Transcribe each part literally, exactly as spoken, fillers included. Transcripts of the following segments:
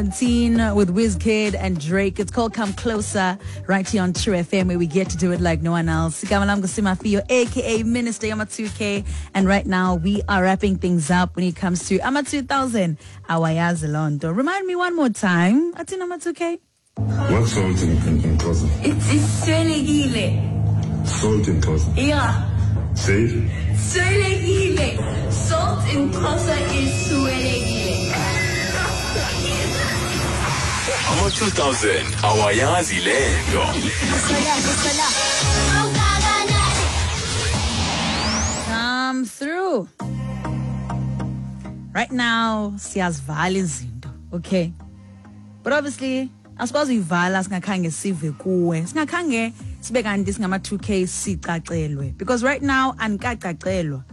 seventeen with Wizkid and Drake. It's called Come Closer, right here on True F M, where we get to do it like no one else. Igama lam nguSimafio, aka Minister Yama two K. And right now we are wrapping things up when it comes to Ama two thousand. Awayazi lonto. Remind me one more time. Atin Ama two K? What's salt in, in, in Xhosa? It's, it's swelekile. Salt in Xhosa? Yeah. Say it. Swelekile. Salt in Xhosa is swelekile. Ama two thousand awayazi lento. Come through. Right now, siyazivala izinto, okay? But obviously, asikwazi uyivala singakhange sive kuwe. Singakhange sibe kanti singama two K sicacelwe. Because right now andikacacelwa.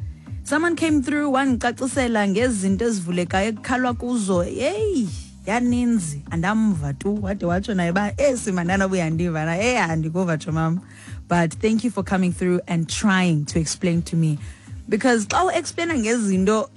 Someone came through wandicacisela ngezinto ezivulekayo ekukhalwa kuzo. Hey, yaninzi andamva tu wade watsho naye ba esimandana buyandiva na eh andikuva tsho mama. But thank you for coming through and trying to explain to me, because xa u-explaina ngezinto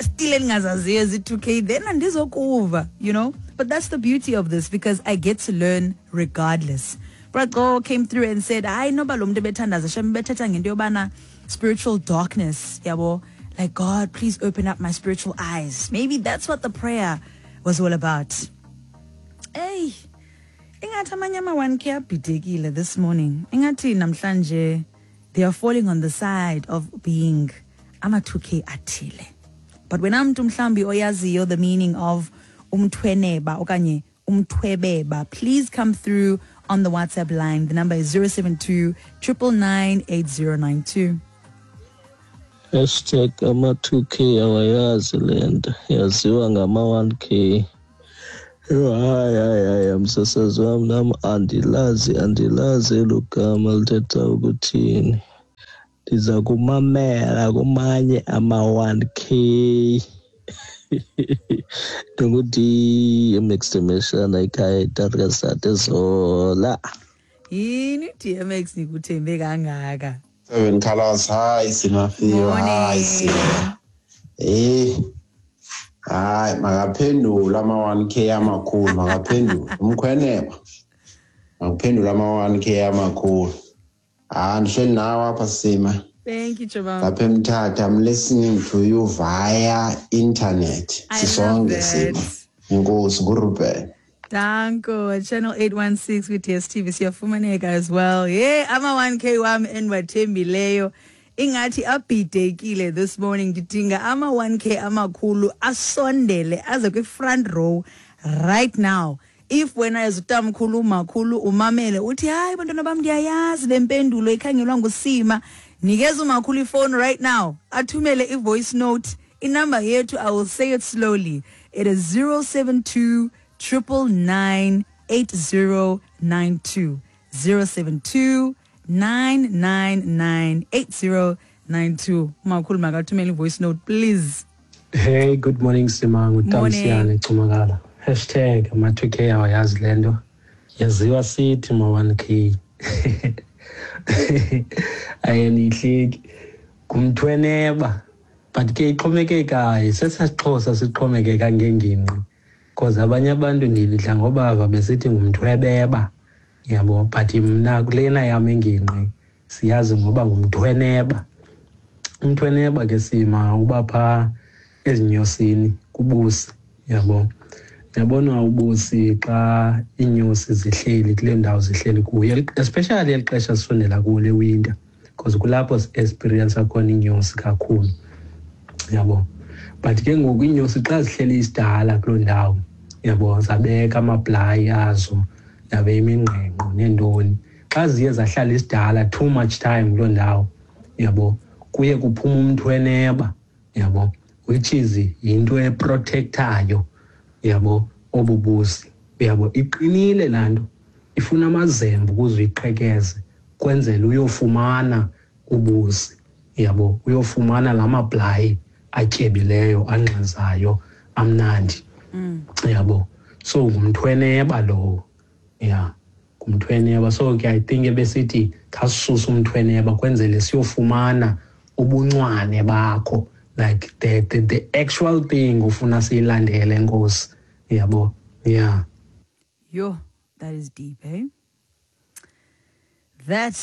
still endingazaziyo ezi two K, then andizokuva, you know. But that's the beauty of this, because I get to learn regardless. Braco came through and said, I know ba lo mntu ebethandaza shem bethetha ngento yobana spiritual darkness, yabo, like God, please open up my spiritual eyes. Maybe that's what the prayer was all about. Hey, ingathi amanye ama one K abhidekile this morning. Ingathi namhlanje they are falling on the side of being ama two K athile. But when I'm mhlambi oyaziyo the meaning of umthweneba okanye umthwebeba, please come through on the WhatsApp line. The number is zero seven two, triple nine, eight zero nine two. Hashtag ama two K awayazi lento, yaziwa ngama one K. Yho, hayi hayi hayi msasazi wam nam andilazi andilazi elo gama lithetha ukuthini. Ndiza kumamela kumanye ama one K. Ndingu-D M X Demeshana ekhaya eTarkasat eZola. Yini D M X nikuthembe kangaka? Seven Colors, hi Simafio, hi Sima. Eh, hayi makaphendula ama one K amakhulu, makaphendula umkhweneba. Makaphendula ama one K amakhulu. Ah, ndihleli nawe apha Sima. Thank you, Chabam. Lapha eMthatha, I'm listening to you via internet. Sisonke Sima. Inkosi nguRuben. Danko, Channel eight one six with D S T V siyafumaneka as well. Yeah, ama one K wam endiwathembileyo. Ingathi abhidekile this morning. Ndidinga ama one K amakhulu asondele aze kwi front row right now. If wena as utamkhulu umakhulu umamele uthi hayi bantwana bam ndiyayazi le mpendulo ikhangelwa nguSima, nikeza umakhulu ifone right now, athumele i-voice note. Inumber yethu, I will say it slowly, it is zero seven two, triple nine, eight zero nine two. zero seven two, nine nine nine, eight zero nine two. Umakhulu makathumele i-voice note please. Hey, good morning Sima, nguTamsiyane Cumakala. Hashtag ama two K awayazi lento, yaziwa sithi ma one K. Ayenihleki ngumthweneba, but ke ixhomekekayo sesasixhosa sixhomekeka ngengingqi, because abanye abantu ndilidla ngobava besithi ngumthwebeba, yabo, but mna kulena yam ingingqi siyazi ngoba ngumthweneba. Umthweneba ke Sima uba phaa ezinyosini kubusi, yabo. Yabona ubusi xa iinyosi zihleli kule ndawo zihleli kuyo, especially eli xesha sisondela kulo le winter, because kulapho si-experience khona iinyosi kakhulu, yabo. But ke ngoku iinyosi xa zihleli isidala kuloo ndawo, yabo, zabeka amabhlayi azo, yabe imingqengqo neentoni, xa ziye zahlala isidala too much time kuloo ndawo, yabo, kuye kuphuma umthweneba, yabo, which is yinto eprotectayo, yabo, obubusi, yabo. Iqinile laa nto, ifuna amazembe ukuze uyiqhekeze kwenzela uyofumana ubusi, yabo, uyofumana la mabhlayi atyebileyo angxazayo amnandi, yabo. So ngumthweneba lowo, yeah, ngumthweneba. So ke I think ebesithi khasisuse umthweneba kwenzele siyofumana ubuncwane bakho, like the, the, the actual thing ufuna siyilandele, Nkosi, yabo. Yeah. Yo, that is deep, eh? That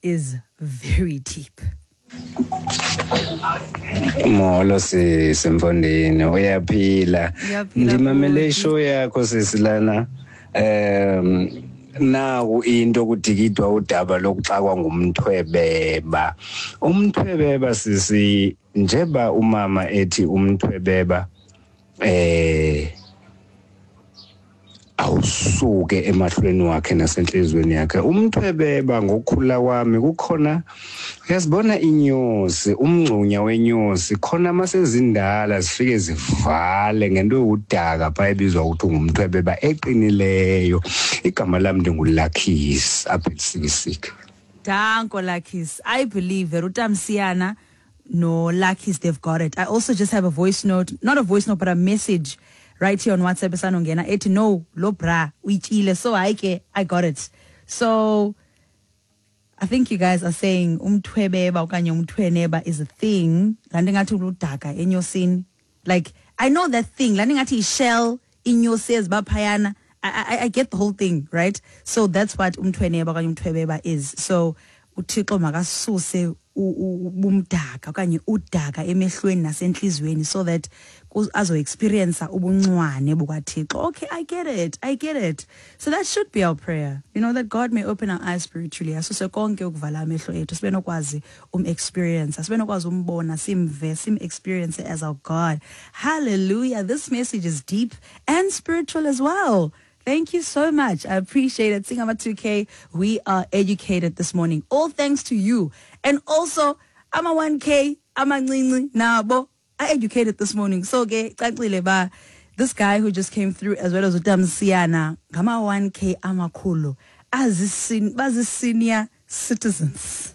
is very deep. Molo sisi mfondini, uyaphila? Uyaphila, Ndimamele bhuti. Ishow yakho sisi lana. um Naku into kudikidwa udaba lokuxakwa ngumthwebeba. Umthwebeba sisi, njeba umama ethi umthwebeba eh awusuke emahlweni wakhe nasenhlizweni yakhe. Umthwebeba, ngokukhula kwami, kukhona, uyazibona inyosi, umngcunya wenyosi khona, masezindala zifike zivale ngento yodaka pha ebizwa ukuthi ngumthwebeba eqinileyo. Igama lami ndinguLuckys apha eLusikisiki. Danko, Luckies. I believe that uTamsiana no Luckies, they've got it. I also just have a voice note, not a voice note, but a message right here on WhatsApp esanongena ethi no, lo bra uyityile, so hayi ke, I got it. So I think you guys are saying umthwebeba okanye umthweneba is a thing. Laa nto ingathi ludaka enyosini. Like, I know that thing. Laa nto ingathi shell inyosi eziba phayana. I, I, I get the whole thing, right? So that's what umthweneba okanye umthwebeba is. So uThixo makasuse u- u- ubumdaka okanye udaka emehlweni nasentliziyweni so that azo-experience ubuncwane bukaThixo. Okay, I get it. I get it. So that should be our prayer. You know, that God may open our eyes spiritually. Asuse konke ukuvala amehlo ethu, sibe nokwazi um-experience, sibe nokwazi umbona, simve, sim-experience as our God. Hallelujah. This message is deep and spiritual as well. Thank you so much. I appreciate it. Singama two K, we are educated this morning. All thanks to you. And also, I'm a one K, I'm a nabo. I educated this morning. So ke cacile ba this guy who just came through as well as uTamsiana, ngama one K amakhulu. Azisin bazi senior citizens.